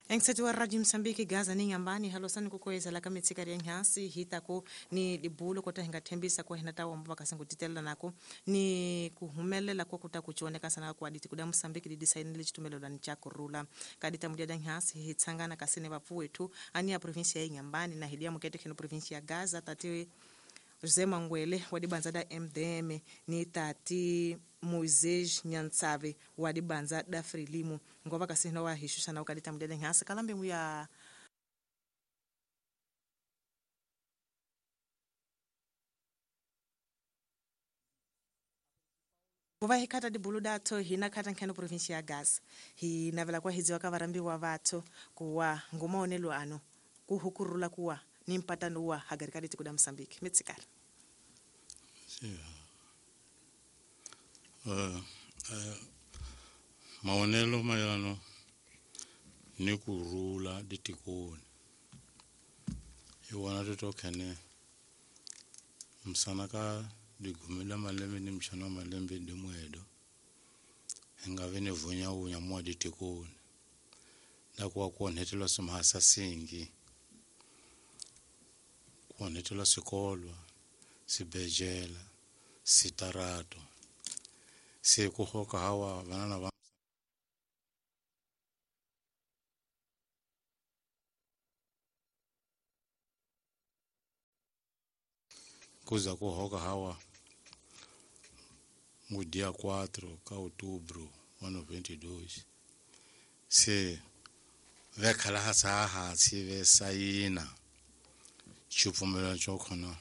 Engiseti wa Radio Msambiki Gaza ni ngambani halosani kukoyeza ka mitsikari ya nhansi hitako ni dibulo kota hinga thembisa ko hina tawa mbaka kasingu titela nako ni kuhumelela kwa kuta kuchoneka sana kwa aditi kuda Msambiki di design le chitumelo la nchako rula kadita mudia da nhansi hitsangana kasine vapu wetu ani ya provinsia ya Inhambane na hidia mukete kino provinsia ya Gaza tati José Manguele wa dibanza da MDM ni tati Moisés Nyantsave wa dibanza da Frelimo ngoba kasihna wa hishusha na ukadita mudede ngasa kalambe muya kuva hikata dibulu datho hina khata nkheno provinsia ya Gaza hinavela kwa hidziwa ka varambiwa vatho kuwa ngumaonelo ano kuhukurula kuwa ni mpatano wa hagari kaditi kuda Msambiki mitsikara. Maonelo mayelano ni kurula ditikoni iwona titokhene msana ka digumi la malembe ni mchana wa malembe dimwedo ingave ni vunyawunya mwa ditikoni nakuwa kuonhethelwa simhasa singi kuonhethelwa sikolwa sibejela sitarato sikuhoka hawa vanana va kuza kuhoka hawa mu dia 4 ka outubro wa 92 se vekhala hasa hansi ve sayina xipfumelano xo khona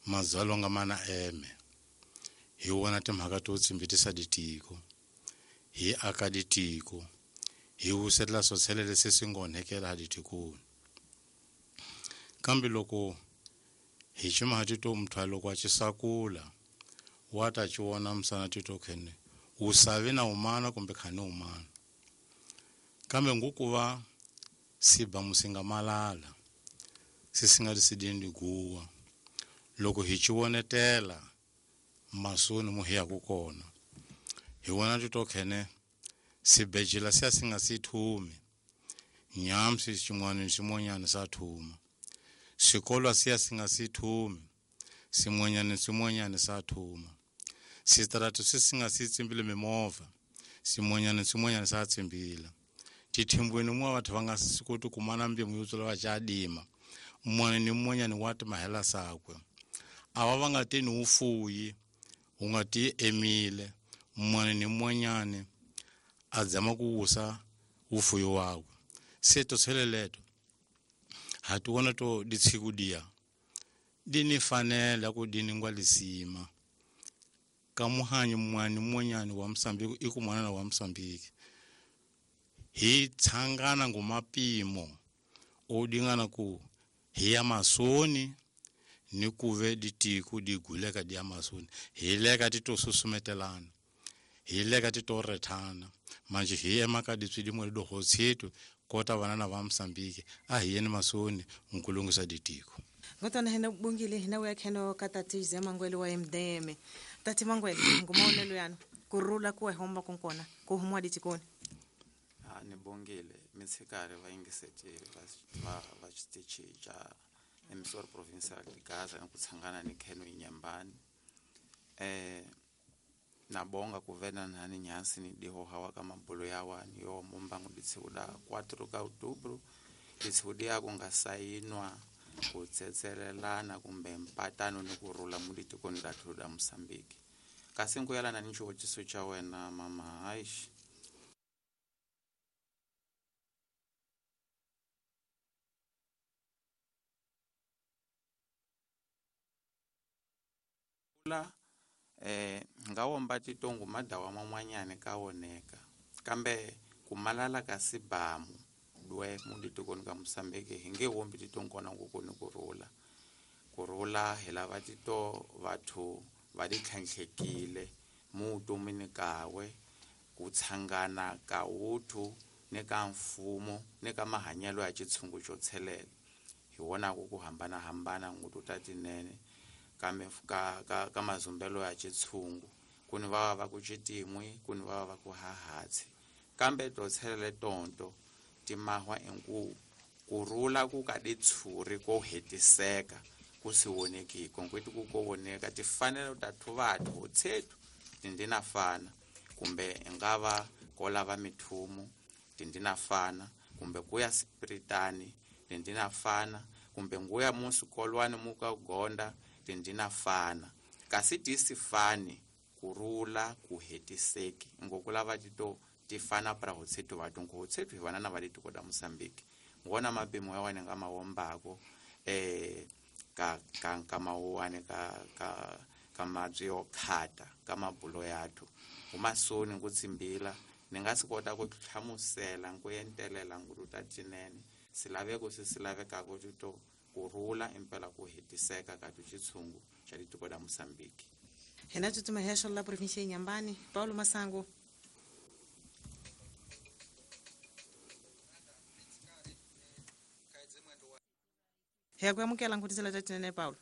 mazalonga mana eme hi wona timhaka to tsimbitisa ditiko hi aka ditiko hi wusetela swotshele leswi swi nga onhekela ha ditikoni kambe loko hi ximaha tito mthwa loko a xisakula wa ta xi vona misana tito khene wu savi na umana kumbe khani umana kambe ngukuva siba musinga malala sisinga lisidini liguwa loko hi xi vonetela masoni mu hiya ku kona hi vona tito khene sibejela siya singa si thumi nyamsi xin'wana ni xin'wanyana sa thuma xikolwa siya singa si thumi xin'wanyana ni xin'wanyana sa thuma switaratu swi singa si tsimbile mimovha xin'wanyana ni xin'wanyana sa tsimbila tithimbwini mwa vathu va nga si koti kumana mbimu yo tswela va cadima mun'wana ni mun'wanyana wa timahela sakwe ava va nga teni wu fuyi wu nga ti emile mun'wana ni mun'wanyana a dzama ku wusa wufuyi wakwe se to tsheleleto ha ti vona to ditshiku diya di ni fanela ku di ningwa lisima ka muhanyi mun'wana ni mun'wanyana wa Msambiki i ku mwanana wa Msambiki hi tshangana ngomapimo o dingana ku hi ya masoni ni kuve ditiko di guleka di ya masoni hi leka ti to susumetelana hi leka ti to rethana manje hi ema ka ditswidimo le dogo tsheto kota vanana va Msambiki a hi yeni masoni nkulungisa ditiko. Ngotona hina bungile hina uya kheno ka tati José Manguele wa MDM. Tati Manguele ngumaonelo yano kurula kuwa homba konkona kuhumwa ditikoni. Ni bongile mitsikari va yingiseti va xitichi xa emisoro provincial de Gaza ni ku tshangana ni kheno Inhambane na bonga ku vena nani nyansi ni dihoha wa ka mabulo ya wani yo mumbangu ditshiku da 4 ka outubro ditshiku dia ku nga sayinwa ku tsetselelana kumbe mpatano ni ku rula mu ditikoni da thu da Mosambiki kasi nku yalana ni xivutiso xa wena mama Aish la nga womba titongo madawa man'wanyana ka woneka kambe ku malala ka sibamu dwe mu ditikoni ka Mosambiki hi nge wombi titonkona ngoko ni kurhula kurhula hi lava tito vathu va ditlhantlhekile mu vutomini kawe ku tshangana ka wuthu ni ka mfumo ni ka mahanyelo ya xitshungu xo tshelela hi wonaku ku hambanahambana ngutu ta tinene kambe ka mazumbelo ya xitshungu ku ni va ku xitin'wi ku ni va ku hahatsi kambe to tshelele tonto Timahwa enku kurula ku ka ditshuri ko hetiseka ku si vonekiko nkweti ku ko voneka tifanelo ta thuvathu hotshethu tindinafana kumbe ingava ko lava mithumu tindinafana kumbe kuya sipiritani tindinafana kumbe nguya musikolwani muka gonda tindinafana kasi tisifani kurula ku hetiseki ngokulava tito tifana para hotshethu vathu nko hotshethu hi vana na va litiko da Mosambiki ngona mapimo ya wane nga mawombako ka ka ka mawuwane ka ka ka mabyi yo khata ka mabulo yathu umasoni kutsimbila ni nga si kota ku hlamusela ku entelela nguluta tinene silaveko se silavekako tito kurula impela ku hetiseka ka tuchitshungu xa litiko da Mosambiki. Hina tsutsuma hexo la provinsia ya Inhambane, Paulo Massango. Hi ku amukela nkutisela ta tinene Paulo.